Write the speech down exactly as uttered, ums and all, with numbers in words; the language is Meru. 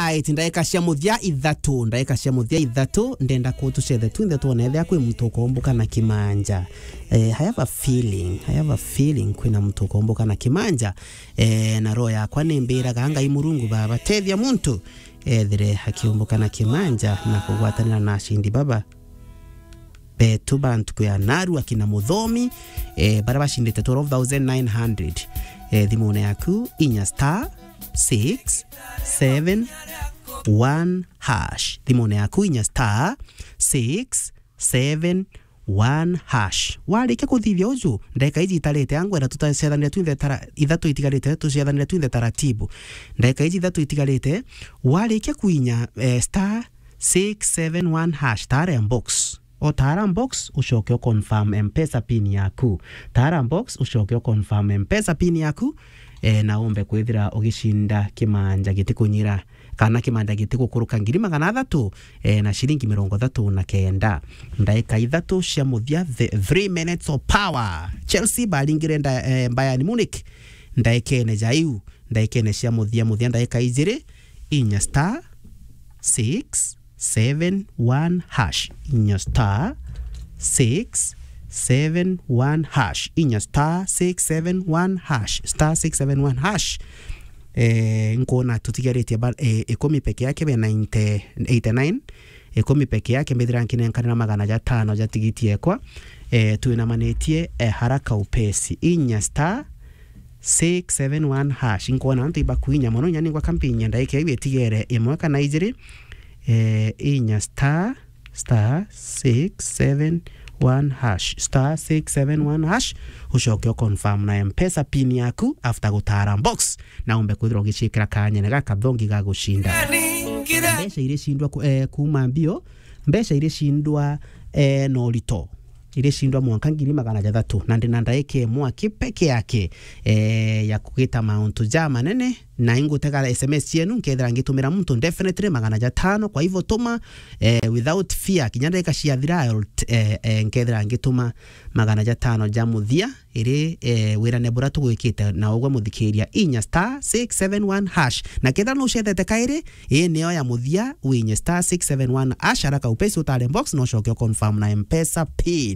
Right, ndaika cia muthia ithatu, ndaika cia muthia ithatu, ndenda kutucethe twinthe twone ethia kwi muntu ukombuka na kimanja. Eh, I have a feeling, I have a feeling kwina muntu ukombuka na kimanja. Eh, na roho yakwa nimbiraga Ngai Murungu baba, tethia muntu ethire akiumbuka na kimanja na kugwatanira na ashindi baba. Betu ba ntuku ya naru akina Muthomi, eh, baria bacindite twelve thousand nine hundred. Eh, thimune yaku inya star six seven one hash. Thimune yaku inya star six seven one hash. Warikia kuthithia uju, ndeka iji itarite, angwenda tutacethanire twinthe tara-, ithatu itigarite, tucethanire twinthe taratibu. Ndeka iji ithatu itigarite, warikia kuinya, eh, star six seven one hash, tara box. O tara box, ucoke u confirm M-Pesa pin yaku. Tara box, ucoke u confirm M-Pesa pin yaku, eh, na umbe kwithira ugicinda kimanja gitikunyira, kana kimanja gitigukuruka ngiri magana athatu, eh, na ciringi mirongo ithatu na kenda. Ndaika ithatu cia muthia, the three minutes of power. Chelsea baringire nda-, eh, Bayern Munich ndaikene ja iu, ndaikene cia muthia muthia, ndaika ijiri, inya star six seven one hash, inya star six seven one hash, inya star six seven one hash, star six seven one hash. Eh, nkuona tutigaritie ba-, eh, ikumi peke yake be ninety, eighty nine, ikumi peke yake mbithira nkinenkanira magana jatano ja tigiti ekwa. Eh, twinamanitie, eh, haraka upesi, inya star six seven one hash. Nkwona antu ibakuinya mono, inya ningwa kampinya ndaika iu itigere imwe kana ijiri. Eh, inya star, star six seven one hash, star six seven one hash, ucoke u confirm na M-Pesa pin yaku after gutara box, na umbe kwithirwa ugicikira kanyene gaka thongi ga gucinda. Mbeca iricindwa ku-, eh, kuuma mbio, mbeca iricindwa, eh, na urito. Iricindwa mwanka ngiri magana jathatu, na ndina ndaika imwe aki peke yake, eh, ya kugita mauntu ja manene, na ingutega S M S cienu, nkethira ngitumira muntu definitely magana jatano. Kwa hivyo tuma, eh, without fear, kinya ndaika ciathira, I'll t-, eh, eh, nkethira ngituma magana jatano ja muthia, iri, eh, wirane bura tugwikite na ugwe muthikiria, inya star six seven one hash. Na kethira nucethete kairi, ii niyo ya muthia, winye star six seven one hash, haraka upesi utare box, na ucoke u confirm na M-Pesa pin.